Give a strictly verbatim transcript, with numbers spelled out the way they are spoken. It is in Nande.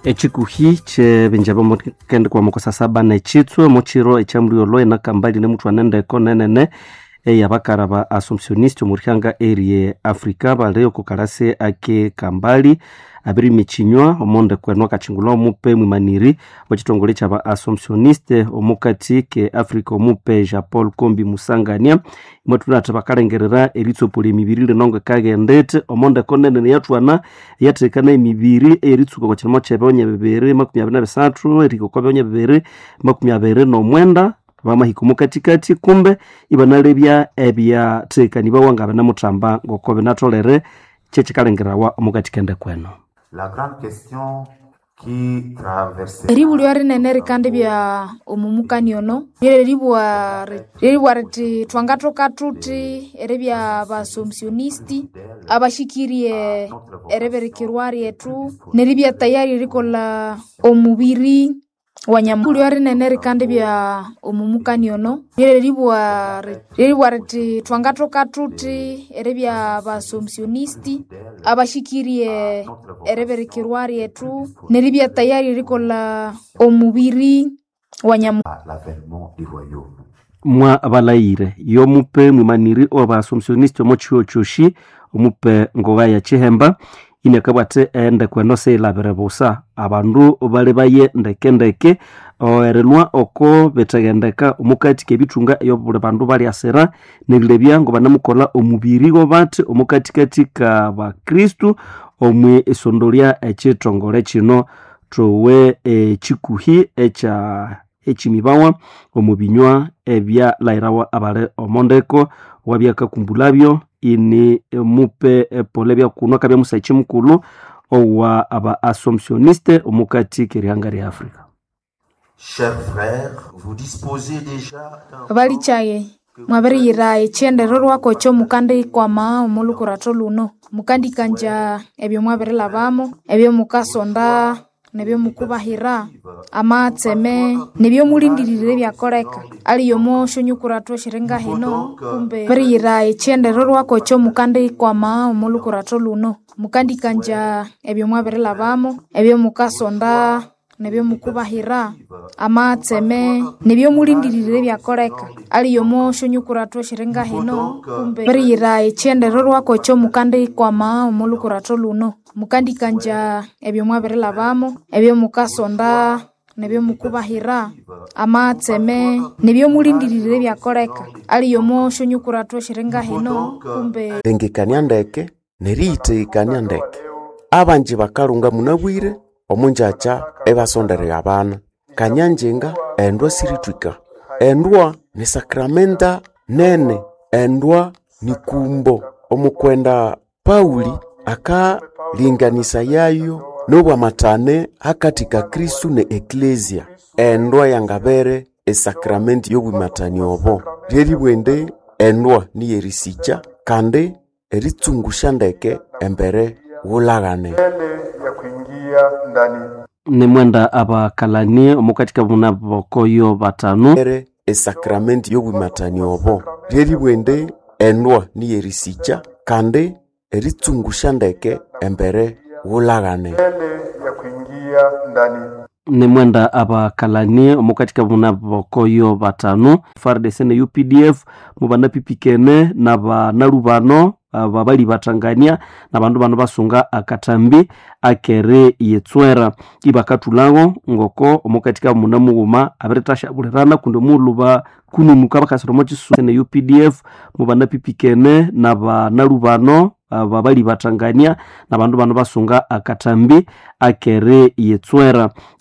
Echikuhi kyebinja byomukende kwa mukosa saba nechitswe muchiro ekyamulyolho enakambali nemuthwana endeko nenene eyabakara ba Assumptioniste omurihanga erie Africa bali okukalasi ake Kambali abirima ekinywa omondeko eno akachingulha omupe mwimaniri wekithongole kyaba Assumptioniste omukati ke Africa omupe Jean Paul Kombi Musangania. Imwathuna bakalengerera eritsopola emibiri lino ngekaghendete omondeko nene yathwana yathekana emibiri eyeritsuka okwa kirimo kyebyonya bibiri makumi abiri na bisathu erihika okwa byonya bibiri makumi abiri n'omwenda bamahika omukatikati kumbe ibanalebya ebyathekanibawa nga binamuthamba ngoko binatholere kyekikalengerawa omukati kendeko eno. La grande question qui traversait Eribulyo rinene rikandibya omumukani ono lyeribwa lyeribwa riti thwangathoka thuthi eribya baassumptionisti abashikirie eribirikirwa ryethu neribya tayari erikolha omubiri wa nyamulyo rinene rikandibya omumukani ono lyeribwa lyeribwa riti thwangathoka thuthi eribya baassumptionisti abashikirie eribirikirwa ryethu neribya tayari erikolha omubiri wa nyamu l'avènement du royaume. Mwa balayire yomupe mwimaniri oba Assumptioniste omo chiho kyoshi omupe ngoga ya Chihemba inakabwate endeko eno seyilabire busa abandu bali baye ndekendeke erilwa oko bitaghendeka omukati kebithunga eyobuli bandu balyasira nerilebya ngo banamukolha omubiri gobathi omukatikati ka bakristu omwi isondolya ekithongole kino thowe ekikuhi ekya ekimibawa omu binywa ebyalayirawa abali omondeko wabyakakumbulabyo ini mupe pole byakunwa akabya musaichi mukulhu owa aba Assumptioniste omukati kerihanga lya Africa. Chers frères, vous disposez déjà d'un Balikyaye mwabiriyira ekyendererwako ekyomukandikwama omolhukuratho luno mukandikanja ebyo mwabirilhabamo ebyomukasonda nebyomukubahira amatseme nebyomulindirire ebyakoleka aliyo omosyonyukuratho esyiringahino kumbe biriyira ekyendererwako ekyomukandikwama omolhukuratho luno mukandikanja ebyo mwabirilhabamo ebyomukasonda nebyomukubahira amatseme nebyomulindirire ebyakoleka aliyo omosyonyukuratho esyiringahino kumbe biriyira ekyendererwako ekyomukandikwama omolhukuratho luno mukandikanja ebyo mwabirilhabamo ebyomukasonda nebyomukubahira amatseme nebyomulindirire ebyakoleka aliyo omosyonyukuratho esyiringahino kumbe Lengekania ndeke neriyithegekania ndeke abanji bakalunga munabwire omunjakya ebasonderera abana kanyanjinga endwa sirithwika endwa ni sakramenta nene endwa ni kumbo omukwenda Pauli akalinganisa yayo nobwamathane hakati ka Kristu ne Eklesia endwa yangabere esakramenti yobwimathani obo lyeribwa endwa niyerisikya kandi eritsungusha ndeke embere wulaghane. Mbele ya kuingia ndani Nimwenda abakalani omukati kabuna bokoyo batano ere esakramenti yobwimathani obo lyeribwa endwa niyerisikya kandi eritsungusha ndeke embere wulaghane. mbele ya kuingia ndani Nimwenda abakalani omukati kabuna bokoyo batano F A R D C ne U P D F mubanapipikene nabanalubano aba bali batangania nabandu bano basunga akatambi akere yetswera ibakathulago ngoko omukati ka muna mughuma abiritashabulirana kundi omulhu bakununuka bakasira omo kisu ne U P D F mubanapipikene nabanalubano aba bali batangania nabandu bano basunga akatambi akere yetswera.